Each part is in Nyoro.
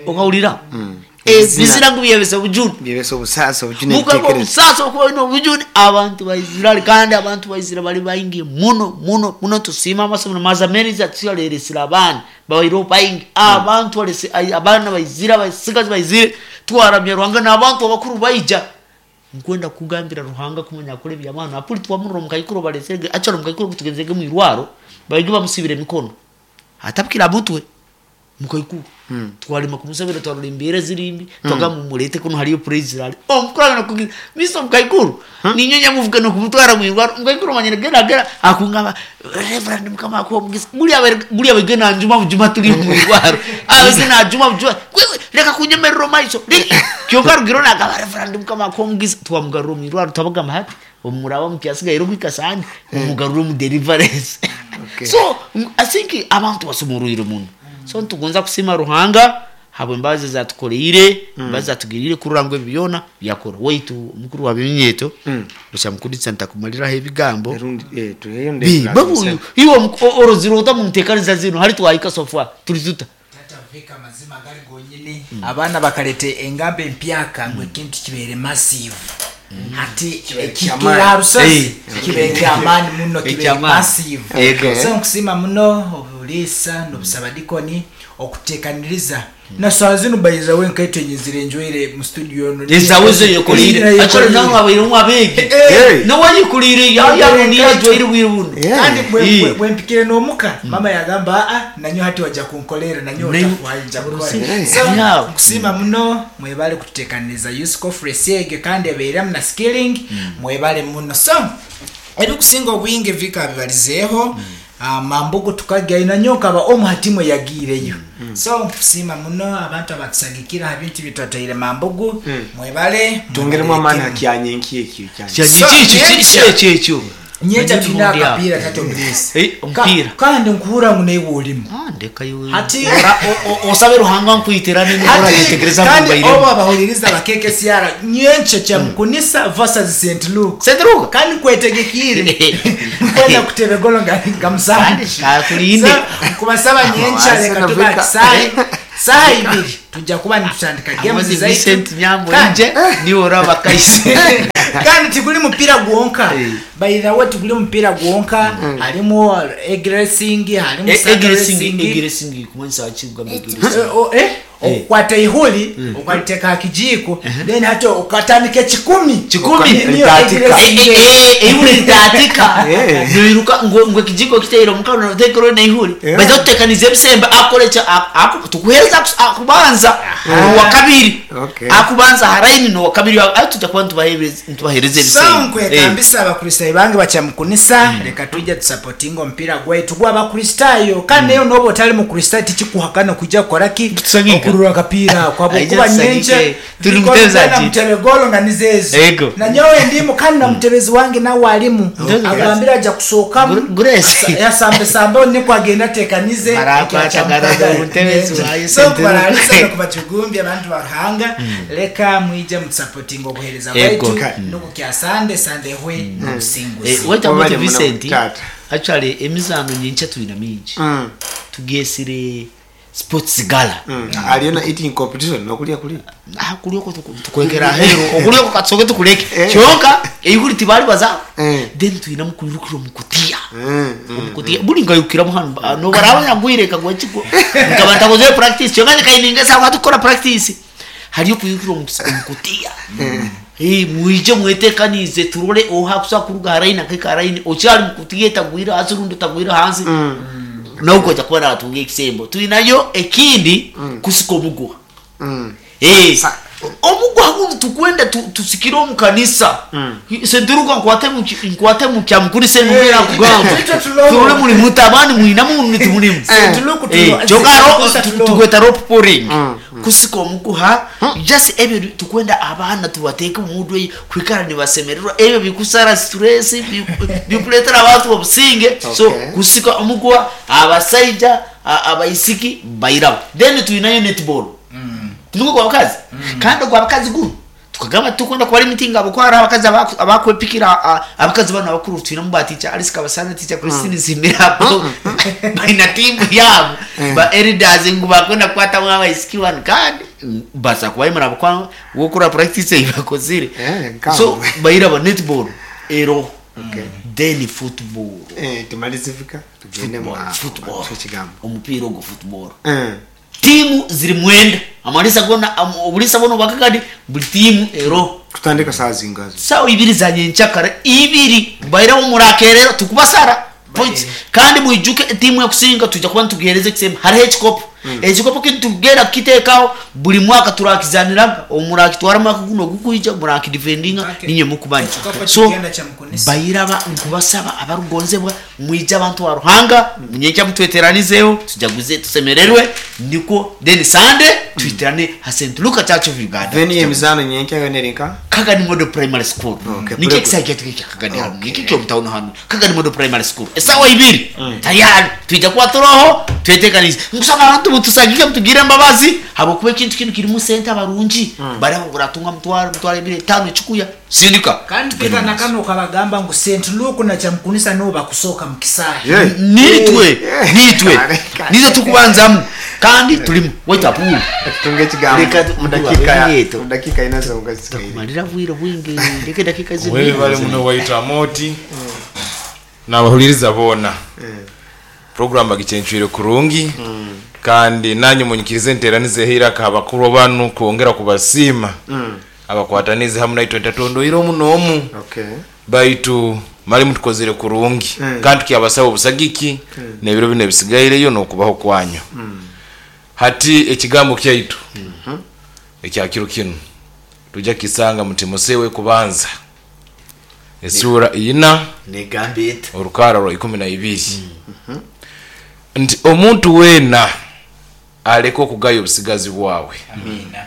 Okahurira ebizina ngu byebesa obujune. Byebesa obusaasi, obujune. Mukaba ebitekerezo. Obusaasi okuba oine obujune. Abantu baizire, kandi abantu baizire bali baingi muno muno muno. Tusiima amasomero Mazameriza atuleresire abaana babaireho baingi. Abantu balese abaana baizire, abasigazi baizire, twaramya Ruhanga n'abantu abakuru baija. Nkwenda kugambira Ruhanga kumanya akora ebyamaani. Apuli twamurora omukaikuru balesere, actually omukaikuru tugenzege mwirwaro, baigi bamusibire emikono, atabukire mutwe mukaikuru. Twarema kumusabira, twarora embeera zirimbi, twagamba mumulete kuno, hariyo praise rally omukurana kugira miso omukaikuru ninyo nyamuvuga nokumutwara mwirwaro. Omukaikuru manyire gera gera akungamba, "Reverend, Mukama akuha omugisa." Buli abege nanjuma bujuma, tuli mwirwaro, abege najuma bujuma, "Wewe reka kunyemerera omaiso." Kyonka rugiro nagamba, "Reverend, Mukama akuha omugisa." Twamugarura omwirwaro, twabagamba hati omuraba mukyasigaire okwika sande, mumugarure omu deliverance. So I think abantu basumurwire muno. So nitugonza kusiima Ruhanga habw'embabazi ezatukoreire, embabazi zatugiriire kurora ngu ebi byona byakora. Waitu omukuru wa b'eminyeeto oshamukurisa ntakumariraho ebigambo. Erundi tuheyo. Babu, iwe orozire ota munteekaniza zinu hali twahika so far turi tuta? Tata Vika, amazima gali gonyini, abaana bakaleta engamba empyaka ngu ekintu kibeere massive. Hati kyamaani. ekikira rusozi kibe kyamaani muno, kibe Ekyamaani. massive. So nkusiima muno obuliisa n'obusabadikoni okutekaniriza na saa zinu. By the way, nkaitwe nyizire njwaire mu studio eno. Ezawe zo yekoreire. Actually nawe abairemu abeegi. Nawe ayekoriire yayano niyo ajwaire bwire buno. Kandi bwempikire n'omuka, mama yagamba, "Aa, nanyo hati wajja kunkolera nanyo otafuhayo nja kukora." So nkusiima muno, mwebale kututekaniriza youth conference egyo, kandi ebeiremu na skilling. Mwebale muno. So ebikusinga obwingi vika bibalizeeho. Mambugu tukagyayo, nanyo nkaba omu ha timu eyagiireyo. So nkusiima muno abantu abatusagikira ha bintu byetwatwaire Mambugu. Mwebale. Twongeremu amaani. Mwebalire. Hakyanyenki ekyo kyanye. So, Ekyo ekyo. Nyenkya tulina akapiira, tata omulisi. Omupiira. Kandi nkuhura ngu naiwe olimu. Ah, ndeka iwe. Hati Osabe Ruhanga nkwitira nini yetegereza. Kandi Mbairemu. obo abahuliriza bakeke siara, nyenkya Kyamukunisa versus St Luke. St. Luke. Kandi nkwetegekiire, nkwenda kuteba egolo nga musanju. Kandi kakulinde. So, nkubasaba nyenkya, Ase reka na tuba Vika. kisayi saha 2 tujja kuba nitutandika games Amaze zaitu. Vincent Nyambo. Kandi Nje niwe oraba kaise. Kandi tiguli mupiira gwonka. By the way, tiguli mupiira gwonka, harimu egg racing, harimu saddle racing. Egg racing kumanyisa ki? Kugamba egg racing. Okukwata ihuli ukaliteeka ha kijiiko, then hati ukatandika 1,000. 1,000. Niyo egg Litatika. racing. Ihuli litatika. Noiruka ngo ekijiko kiteire omukano notekero neihuli. Baza tutekaniza ebisembe akorekya tukuhereza akubanza owakabiri. Akubanza haraini nowakabiri ayo tujja kuba nitubahereza So ebisembe. nkwekambisa abakristaayo bange bakyamukunisa, reka tujja tusapotinga omupiira gwaitu gw'abakristaayo. Kandi nayo noba otali mukristaayo, tikikuhakana kujja kukora ki? Tusagika. Okurura akapiira ako Aija habwokuba tusagike. nyenkya Turi mutebezi ati. Mutebe golo nga nizeezo. Nanyowe ndimu, kandi na mutebezi wange nawe alimu. Mutebezi. Agambire ajja kusookamu. Grace. Yasambesambe niko agenda atekanize. Barakwata garaza omutebezi wayo. So St. Luke. kubaralisa nokubajugumbya abantu ba Ruhanga, reka mwije mutusapotinga obuhereza bwaitu nokukya sande sande hwe nobusinguzi. Waita Wabale muti muno, Vincent. tata. Actually emizano nyenkya tulina mingi. Tugesire sports gala. Aliyo na eating competition nokulya kuli. Ah, kulyoko tukwekera ahero, okulyoko katusoke tukuleke. Kyonka eihuli tibali baza. Then tulina mukwirukira omukutiya. Omukutiya buli nkayukiramu hano nobaraba nyagwire kagwa kigwa nkaba ntakoze practice, kyonka nyikaininga sawa tukora practice hariyo kwirukira omukutiya. Mwije mwetekanize turole oha kusa kuruga haraini akeka haraini okyali mukutiya etagwire hasi rundi etagwire hansi nokojja kuba natunga ekisembo. Tulinayo ekindi kusika omuguha. Omuguha guno tukwenda tusikire omu kanisa. Senturuka nkwate mu kyamukulisa enumera kugamba. Itwe tulobo. Turole muli mutabani mwina munu timulimu. St. Luke Kyonka St. Luke. tukweta rope pulling, kusika omuguha. Just ebyo tukwenda abaana tubateeke mumudwe kwikara nibasemererwa. Ebyo bikusara stress, bikuleetera abantu obusinge. So kusika omuguha, abasaija abaisiki bairabo. Then tulinayo netball, tunuko gwa bakazi, kandi ogwa bakazi guno. Tukagamba tukwenda kubara emitinga abakwara abakazi abakwepikira abakazi bano abakuru twinamu ba teacher Alice Kabasana, teacher Christine Zimirabo, baina timu yabo ba elders ngu bakwenda kukwatamu abaisiki bano, kandi basa kubayimura abakwa wokura practice ei bakozire. Nkawe. So bairaba netball ero, then football. Tumalizifika tugende mu Football, football. Ekigambo. Omupiira ogwo football, tiimu ziri 9, amalisa gona obulisa buno bwakagadi, buli tiimu ero. Kutandika saa zingazo? Sawa 2 za nyenkyakara, 2 bairaho murakerero tukubasara points. Kandi mwijuke tiimu ekusinga tujja kuba nitugihereza ekisembo. Hariho ekikopo, ekikopo kinu tugenda kukiteekaho buli mwaka, turakizaniraga omurakitwara mwaka guno ogukwija murakidefendinga. Okay. Ninye mukubanja. Ekikopo So kigenda kya Mukunisa. bairaba nkubasaba abarugonzebwa, mwije abantu ba Ruhanga munyenkya mutweteranizeho, tujaguze, tusemererwe. Niko then Sunday twiterane ha St Luka Church of Uganda. Then emizano nyenkya yona erinka? Kagani Model Primary School. Okay, Nikyo very good. ekisaawe kyaitu kya Kagani hano, nikyo kyomutawuni hano, Kagani Model Primary School, esawa 2 tayari twija kuba turoho twetekanize. Nkusaba abantu mutusagike, mutugire embabazi, habwokuba ekintu kinu kirimu sente. Abarungi bariho buratunga mutwaro, 250,000 ekikuya sindika. Kandi pika na kano ukabagamba ngu St Luke na Kyamukunisa nibo bakusooka mu kisaawe. Yeah. Nitwe nitwe Kale, kale. nitwe tukubanzamu kandi tulimu waitapulu. Tutunge ekigambo Reka mu dakika yetu. mu dakika ina zonga zisigaire. Takumalira bwire bwingi, ndeke dakika zibiri. Wewe bali muno waita moti nabahuliriza boona, program bagicyencwire kurungi, kandi nanyu munyikirize nteranizeho iraka abakuru banu kwongera kubasiima abakwatanize hamu naitwe ntatondoire omu n'omu. Okay. Baitu mali mutukozere kurungi, kandi tukyabasaba obusagiki n'ebiro bino ebisigaireyo n'okubaho kwanyu. Hati ekigambo kyaitu ekya kiro kinu tujja kisanga mu Timosewo kubanza esura 4, Negambe eti? Orukara rwa 12, nti omuntu weena aleke okugaya obusigazi bwawe, Amina.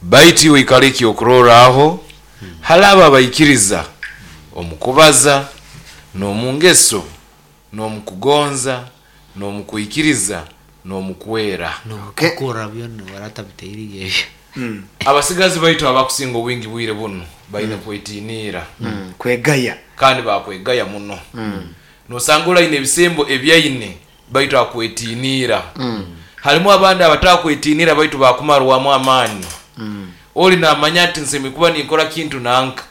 baitu iwe ikale ekyokurorraho hali abo abaikiriza omukubaza n'omungeso n'omukugonza n'omukwikiriza n'omukwera. Okay. Nokukora byona waratabiteire ebyo. Abasigazi baitu abakusinga obwingi bwire buno baine kwetiniira. Kwegaya. Kandi bakwegaya muno. Nosanga olaine ebisembo ebyaine baitu akwetiniira. Harimu abandi abatakwetiniira baitu bakumarwamu amaani. Oli namanya nti nsemere kuba ninkora kintu nanka.